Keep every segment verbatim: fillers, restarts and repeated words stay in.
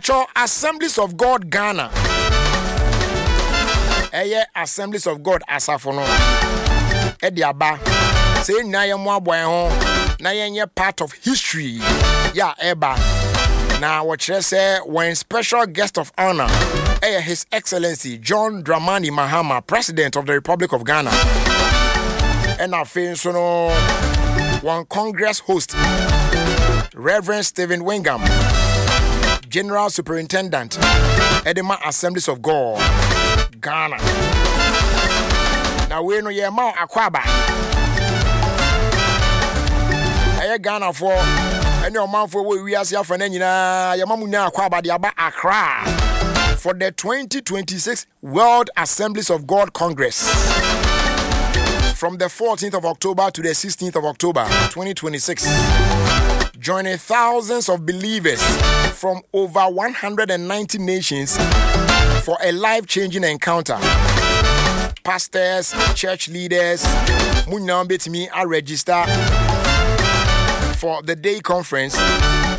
Twɛ Assemblies of God Ghana, ɛyɛ Assemblies of God asafo no ɛde aba sɛ yɛn nyinaa yɛn mmoaboa yɛn ho na yɛnyɛ part of history yɛ a ɛba. Na wɔkyerɛ sɛ wɔn special guest of honor ɛyɛ His Excellency John Dramani Mahama, President of the Republic of Ghana. Ɛna afei nso no, wɔn congress host, Reverend Stephen Wingham, General Superintendent ɛde ma Assemblies of God Ghana. Na wei no yɛma akɔ aba ɛyɛ Ghanafoɔ ɛne ɔmanfoɔ wɔ wiase afa no nyinaa, yɛma mu nya akɔ aba de aba Accra for the twenty twenty-six World Assemblies of God Congress from the fourteenth of October to the sixteenth of October twenty twenty-six, joining thousands of believers from over one hundred ninety nations for a life-changing encounter. Pastors, church leaders, mo nyinaa bɛtumi register for the day conference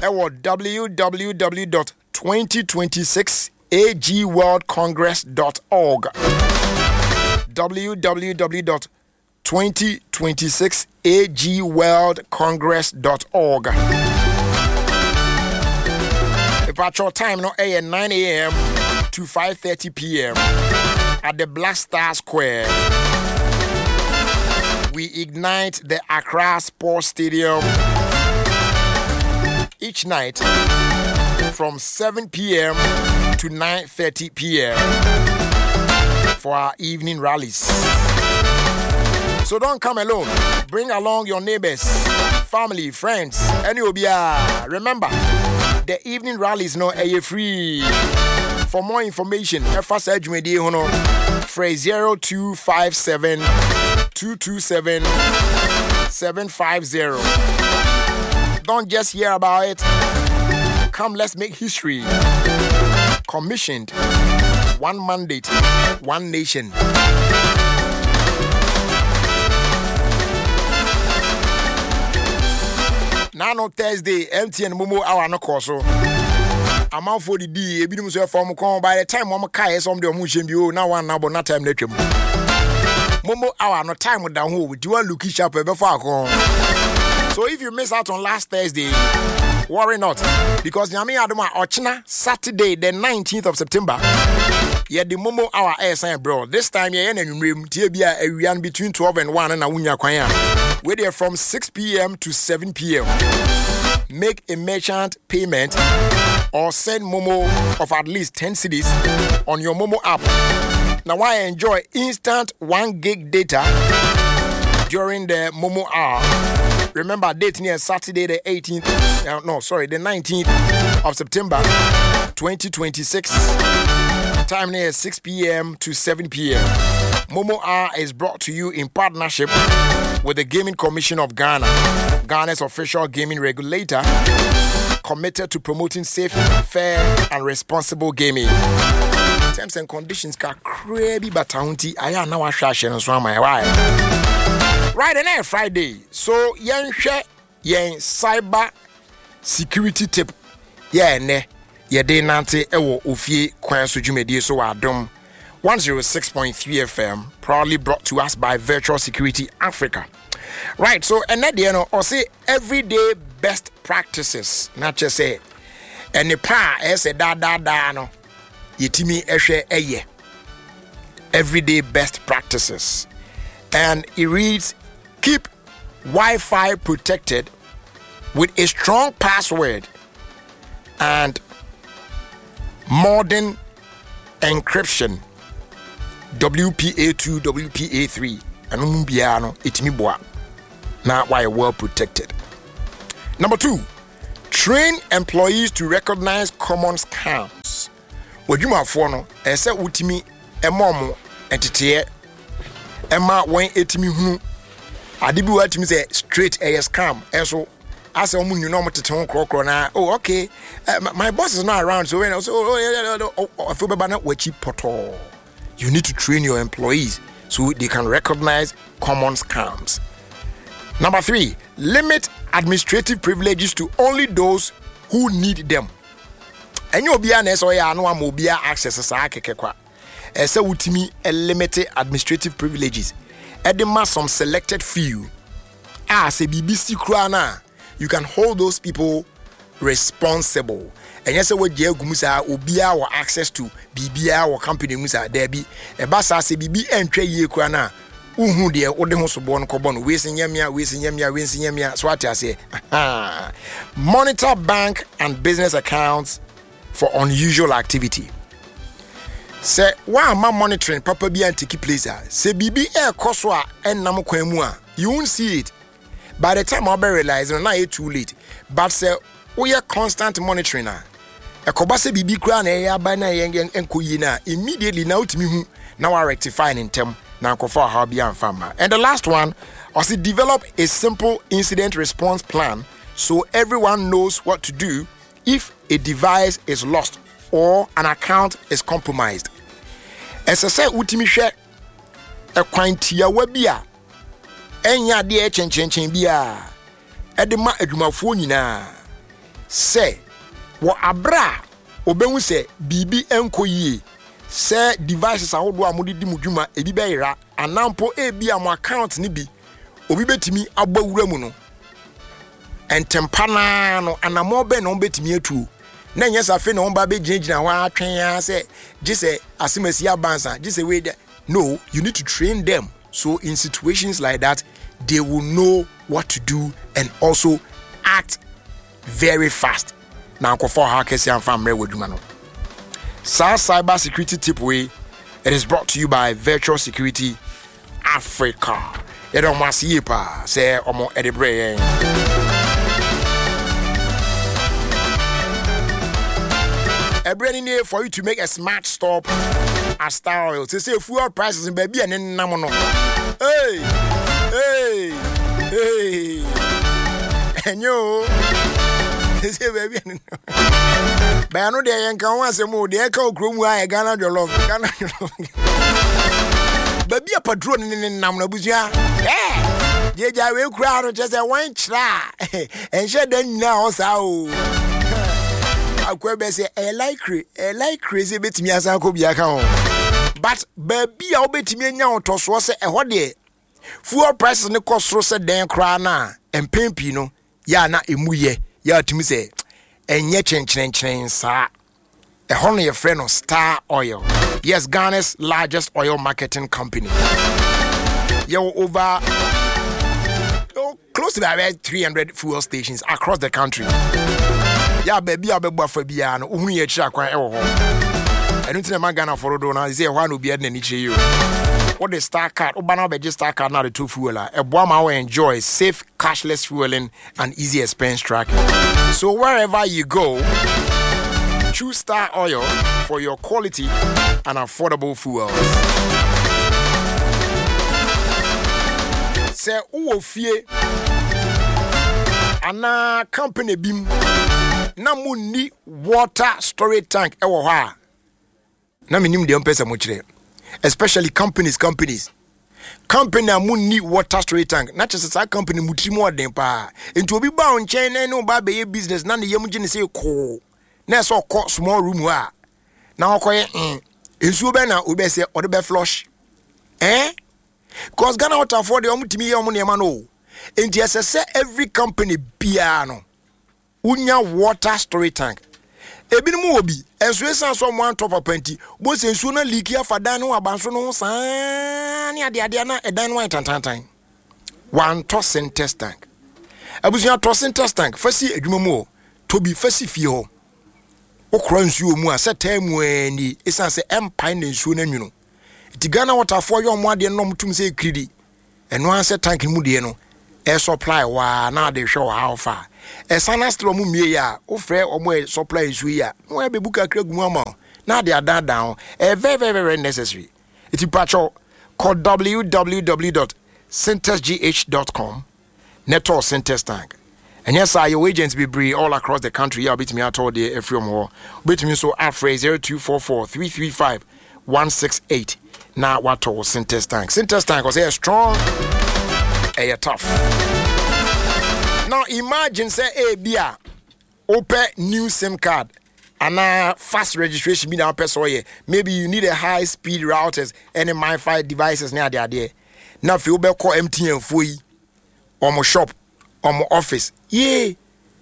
ɛwɔ w w w dot twenty twenty-six agworldcongress dot org, w w w dot twenty twenty-six agworldcongress dot org. Departure time no ɛyɛ nine a m to five thirty p m at the Black Star Square. We ignite the Accra Sports Stadium each night from seven p m to nine thirty p m for our evening rallies. So don't come alone. Bring along your neighbors, family, friends, any obia. Remember, the evening rallies no ɛyɛ free. For more information, ɛfa saa dwumadie ho no, frɛ zero two five seven two two seven seven five zero. Don't just hear about it. Come, let's make history. Commissioned. One mandate, one nation. Nano Thursday, M T N Momo hour no kɔ so. Amanfoɔ didi, ebinom nso ɛfa wɔn kɔn. By the time wɔn kaeɛ sɛ wɔn de wɔn nhyɛn bi o na wɔn anabɔ na time no atwam. Momo hour no time da ho o, ti wɔn look sharp ɛbɛfa akɔn. So if you miss out on last Thursday, worry not, because Nyame adom a, ɔkyena Saturday the nineteenth of September, yɛde Momo hour ɛɛsan brɛ. This time yɛyɛ no anwummerɛ mu tie bi a awia no between twelve and one na wonya kwan a wei deɛ from six p m to seven p m. Make a merchant payment or send Momo of at least ten cedis on your Momo app. Now I enjoy instant one gig data during the Momo hour. Remember, date near Saturday the eighteenth, uh, no, sorry, the nineteenth of September twenty twenty-six. Time near six p m to seven p m. Momo Hour is brought to you in partnership with the Gaming Commission of Ghana, Ghana's official gaming regulator, committed to promoting safe, fair, and responsible gaming. Terms and conditions kakra bi bata ho nti ayɛ a na wahwɛ ahyɛ no nso ama ɛ. Why? Right, and then Friday. So yɛnhwɛ yɛn cyber security tip yɛ ɛnɛ yɛde nante ɛwɔ Ofie Kwan So dwumadie so wɔ Adom one oh six point three F M, proudly brought to us by Virtual Security Africa. Right, so ɛnɛ deɛ no ɔse everyday best practices, na kyerɛ sɛ ɛne pa a ɛyɛ sɛ daadaadaa no yɛtumi ɛhwɛ ɛyɛ everyday best practices, and it reads: keep Wi-Fi protected with a strong password and modern encryption, W P A two, W P A three. Ɛno mu biara no ɛtumi boa na wayɛ well protected. Number two, train employees to recognize common scams. W'adwumafoɔ no, ɛsɛ sɛ wotumi ɛma ɔmo nteteɛ ɛma wɔn ɛtumi hunu ade bi wɔatumi sɛ straight ɛyɛ scam. Ɛso asɛ ɔmo nyina ɔmo tete ho korɔkorɔ na, "Oh, okay, uh, my boss is not around," so when so, oh, yeah, yeah, oh, afei bɛba na wakyi pɔtɔɔ. You need to train your employees so they can recognize common scams. Number three, limit administrative privileges to only those who need them. Ɛnyɛ obiara na ɛsɛ ɔyɛ ano ama obiara access saa kɛkɛ kwa. Ɛsɛ wotumi limit administrative privileges ɛde ma some selected few a sɛ biribi si koraa no a, you can hold those people responsible. Ɛnyɛ sɛ wagye agu mu saa, obiara wɔ access to biribiara wɔ company mu saa. Daabi, ɛba saa sɛ biribi ɛntwa yie koraa no a, wohu deɛ wode ho soboɔ no kɔbɔ no. Wei se nyɛ mea, wei se nyɛ mea, wei se nyɛ mea. So ate aseɛ? Monitor bank and business accounts for unusual activity. Sɛ woamma monitoring papa bi antake place a, sɛ biribi ɛrekɔ so a ɛnnam kwan mu a, you won't see it. By the time wobɛ realize no, na ayɛ too late. But sɛ woyɛ constant monitoring a, ɛkɔba sɛ biribi koraa na ɛyɛ aba na ɛyɛ nkɔ yie no a, immediately na wotumi hu na wa rectify ne ntɛm na nkɔfa ɔhaw bi amfa mma. And the last one, ɔse develop a simple incident response plan so everyone knows what to do if a device is lost or an account is compromised. Ɛsɛ sɛ wotumi hwɛ ɛkwan tiawa bi a ɛnyɛ adeɛ ɛkyɛnkyɛnkyɛn biara ɛde ma adwumafoɔ nyinaa sɛ wɔ abere a obehu sɛ biribi nkɔ yie, sɛ devices ahodoɔ a mode di mo dwuma ebi bɛyera anaa mpo ebi a mo account no bi obi bɛtumi abɔ wura mu no, ntɛmpa naa no anammɔn bɛn na wɔbɛtumi atuo, na ɛnyɛ sɛ afei na wɔn ba bɛgyinagyina hɔ atwɛn ara sɛ gye sɛ asemasi abansa gye sɛ wei dɛ. No, you need to train them so in situations like that they will know what to do and also act very fast na nkɔfa ɔhaw kɛse amfa mmerɛ wɔ adwuma no. Saa cyber security tip wei, it is brought to you by Virtual Security Africa. Yɛde ɔmo ase yie paa sɛ ɔmo ɛde brɛ yɛn. Ɛberɛ ni nie for you to make a smart stop at Star Oil. Sɛ sɛ fuel prices no baabi a ne nam no. Hey, hey, hey. Ɛnyɛ o. Sɛ sɛ baabi a ne nam. Bɛyɛ no deɛ yɛnka ho asɛm o. Deɛ ɛka wɔ kurom ha yɛ Ghana jollof. Ghana jollof. Baabi a patrol ne ne nam no abusua. Ɛɛ gyegya wei koraa no kyerɛ sɛ wɔn kyerɛ a ɛnhyɛ da nyinaa hɔ saa o. Akwa bɛ sɛ ɛyɛ likely, ɛyɛ likely sɛ ebetumi asan akɔ bi aka ho. But baabi a wobɛtumi anya ɔtɔsoɔ sɛ ɛhɔ deɛ fuel prices ne kɔ soro sɛ dɛn koraa no a, mpɛn pii no yɛ a na emu yɛ yɛ a tumi sɛ ɛnyɛ kyenkyerenkyeren saa. Ɛhɔ no yɛfrɛ no Star Oil. Yes, Ghana's largest oil marketing company. Yɛwɔ over, oh, close to about three hundred fuel stations across the country. Yɛ a baabi a wobɛbɔ afa biara no, wohunu yɛ akyiri akwan ɛwɔ hɔ. Ɛno nti na ɛma Ghana fo dodoɔ no sɛ ɛhɔ a na obiara de n'ani kyerɛ yi o. Wode Star card, woba na wobɛgye Star card na wode to fuel a, ɛboa ma wo enjoy safe cashless fueling and easy expense tracking. So wherever you go, choose Star Oil for your quality and affordable fuels. Sɛ wowɔ fie anaa company bi mu na munni water storage tank ɛwɔ hɔ a, na menim deɛ mpɛ sɛ mokyerɛ, especially companies companies company a munni water storage tank, na kyerɛ sɛ saa company mu tiri mu ɔden paa. Nti obi ba wo nkyɛn na ɛne wo ba bɛyɛ business na ne yam gye ne sɛ koo na ɛsɛ ɔkɔ small room hɔ a na ɔkɔyɛ mm nsuo bɛn na obi bɛ sɛ ɔde bɛ flush eh because Ghana Waterfoɔ deɛ, ɔmo tumi yɛ ɔmo nneɛma no o. Nti ɛsɛ sɛ every company biara no wonya water storage tank. Ebinom wɔ bi nso, esan sɛ ɔmo antɔ papa nti, bo sɛ nsuo no leak afa dan no ho, abansoro no ho saa ne adeadeɛ na ɛdan no ayɛ tantantan. Wantɔ Sintex tank. Abusua, tɔ Sintex tank fa si adwuma mu hɔ, tɔ bi fa si fie hɔ. Wokora nsuo mu a sɛ taa mu ɛɛ nie, esan sɛ ɛmpae na nsuo no anwunu. Nti Ghana Waterfoɔ yɛ ɔmo adeɛ no na ɔmo tum sɛ ekiridi. Ɛno ara sɛ tank no mu deɛ no ɛsupply waa na ade hwɛ ɔha ɔfa a ɛsan na still ɔmo mmie yɛ a, wofrɛ ɔmo ɛ supply nsuo yi a na wɔn abɛbu kakra gu mu ama wo na ade adaadaa ho. Ɛyɛ very very very necessary. Eti pakyɛw, kɔ w w w dot sintexgh dot com na ɛtɔɔ Sintex tank. Ɛnyɛ saa, yɛwɔ agents bebree all across the country yi a wobɛtumi atɔ deɛ afiri ɔmo hɔ. Wobɛtumi nso afrɛ zero two four four three three five one six eight na watɔ wo Sintex tank. Sintex tank, ɔsɛ ɛyɛ strong, ɛyɛ tough. Now imagine sɛ ebi a wopɛ new SIM card Anaa fast registration bi na wopɛ sɛ ɔyɛ. Maybe you need a high speed routers ɛne MiFi devices ne adeadeɛ. Na afei wobɛkɔ M T N foɔ yi ɔmo shop, ɔmo office yee,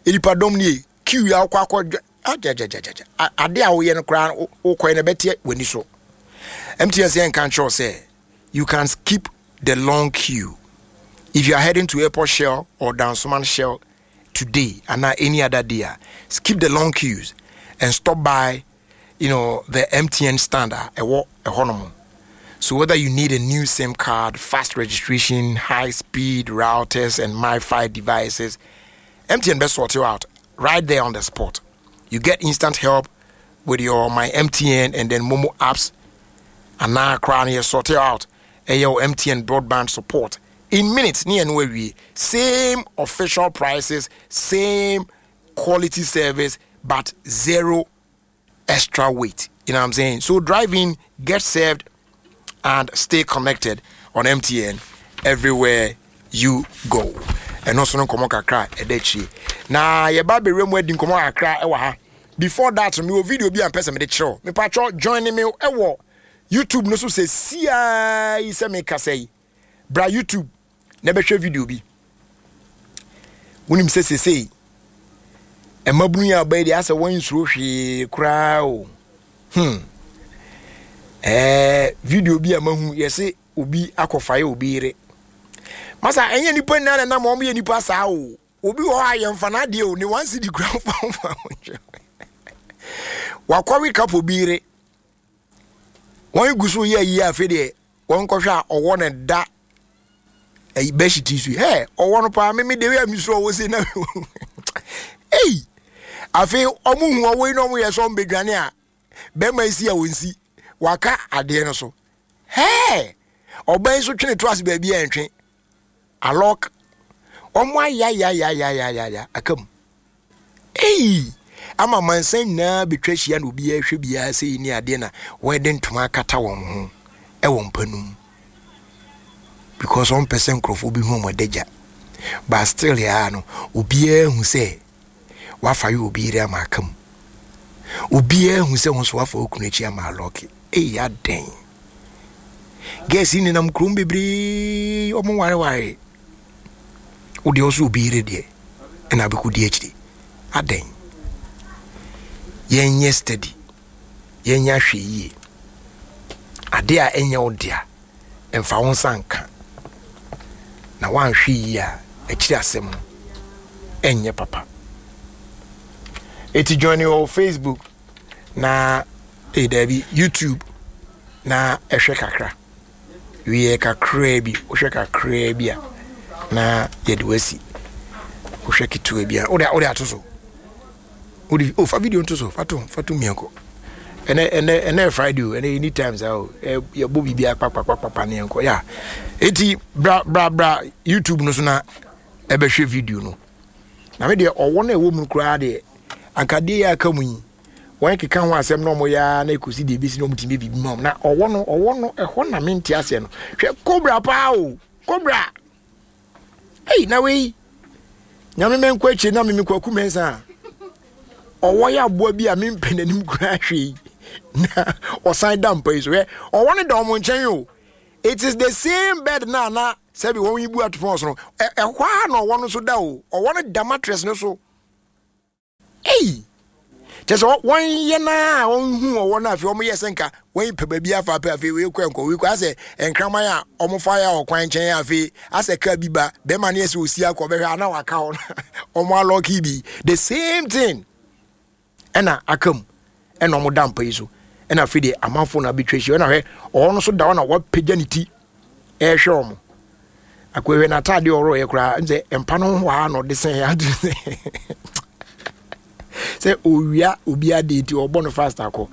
nipadɔm nie, queue a wokɔ akɔ agyagyagyagya ade a woyɛ no koraa, wokɔɛ no ɛbɛteɛ w'ani so. M T N sɛ yɛnka nkyerɛw sɛ you can skip the long queue if you are heading to Airport Shell or Dansoman Shell today and not any other day. Skip the long queues and stop by you know the M T N stand a ɛwɔ ɛhɔnom. So whether you need a new SIM card, fast registration, high speed routers and MiFi devices, M T N best sort you out right there on the spot. You get instant help with your My M T N and then MoMo apps, anaa koraa no yɛ sort you out ɛyɛ wo M T N broadband support in minutes ne ɛno awie. Same official prices, same quality service, but zero extra wait, you know what I'm saying? So drive in, get served and stay connected on M T N everywhere you go. Ɛno nso no, nkɔmmɔ kakra ɛda akyire na yɛba bɛwura mu adi nkɔmmɔ kakra ɛwɔ ha. Before that, mewɔ video bi a mpɛ sɛ mede kyerɛw. Mepatwɔ, join me ɛwɔ YouTube no so sɛ siaa yi sɛ mekasa yi. Bra YouTube na bɛhwɛ video bi. Wonim sɛ sesei mmabunu yi a ɔbɛyɛ deɛ asɛ wɔn nsuro hwee koraa o. hmm ɛɛ video bi a mahu, yɛse obi akɔfa yɛ obi yere. Masa, ɛnyɛ nipa nyinaa na nam wɔn yɛ nipa saa o. Obi wɔ hɔ a yɛmfa n'adeɛ o, ne one cedi kura fa fa wakɔwe kapo bi yere. Wɔn gu so yɛ yie. Afei deɛ wɔn kɔhwɛ a, ɔwɔ ne da ɛyi bɛhyɛ so hɛ ɔwɔ no paa. Mímí de wia mi so ɔwɔ se na ei. Afei ɔmo hu ɔwɔ yi na ɔmo yɛ sɛ ɔmo bedwane a, bɛrima yi si a wɔn si waka adeɛ no so hɛɛ. Ɔbɛn yi so twene to ase baabi a ɛntwe alɔk. Ɔmo ayayayayayaya aka mu ei ama mansa nyinaa betwa ahyia na obiara hwɛ biara sɛ yi ne adeɛ na wɔde ntoma akata wɔn ho ɛwɔ mpa no mu because wɔn pɛ sɛ nkurɔfoɔ bi hu wɔn adagya. But still yaa no, obiara hu sɛ wafa yɛ obi yere ama aka mu. Obiara hu sɛ wɔn nso wafa okunu akyi ama alɔke. Eyi adɛn? Girls yi nenam kurom bebree, wɔn wareware. Wodeɛ ɔso obi yere deɛ ɛna abɛkɔ di akyire, adɛn? Yɛnyɛ steady, yɛnyɛ ahwɛ yie. Adeɛ a ɛnyɛ wo dea, mfa wo nsa nka na woanhwɛ yie a, akyiri asɛm no ɛnyɛ papa. Eti join wɔ Facebook na eh daabi, YouTube na ɛhwɛ kakra wie kakraa bi. Wohwɛ kakraa bi a, na yɛde wasi. Wohwɛ ketewa bi a, wode wode ato so, wode oh, fa video nto so, fa to fa to mmiɛnkɔ. Ɛnɛ ɛnɛ ɛnɛ Friday o, ɛnɛ anytime saa o, yɛbɔ biribi akpakpakpakpa ne yɛnkɔ ya. Eti bra bra bra YouTube no so na ɛbɛhwɛ video no. Na me deɛ, ɔwɔ no a ɛwɔ mu koraa deɛ, anka deɛ yɛ aka mu yi, wɔn keka ho asɛm na wɔn yɛ ara na ekosi deɛ ebesi na wɔn ti bɛ biribi ma wɔn. Na ɔwɔ no ɔwɔ no ɛhɔ na mente aseɛ no. Hwɛ cobra paa o, cobra ei. Na wei Nyame mɛnkɔ akyire na meme Kwaku Mɛnsa a ɔwɔ yɛ aboa bi a mempɛ n'anim koraa hwɛ yi na ɔsan da mpa yi so. Hwɛ, ɔwɔ no da ɔmo nkyɛn o. It is the same bed na na sɛbi wɔn yi bu ato fɔn so no. Ɛhɔ a na ɔwɔ no so da o. Ɔwɔ no da mattress no so ei. Kyɛ sɛ wɔn yɛ naa wɔn hu ɔwɔ no. Afei wɔn yɛ sɛ nka wɔn pɛ baabi afa pɛ. Afei wei kɔ nkɔ, wei kɔ, asɛ nkraman a wɔn fa yɛ ɔkwan nkyɛn. Afei asɛ kaa bi ba, bɛrima no yɛ sɛ osi akɔ bɛhwɛ ana waka hɔ, wɔn alɔki bi. The same thing ɛna aka mu ɛna wɔn da mpa yi so. Ɛna afei deɛ amanfo na abɛtwa ahyia. Ɛna hwɛ, ɔwɔ no so da hɔ na wapagya ne ti ɛrehwɛ wɔn akɔhwɛ n'ataadeɛ ɔrɔ yɛ koraa sɛ mpa no ho ha na ɔde sɛn ato sɛ owia obi adeɛ nti ɔbɔ no fast akɔ.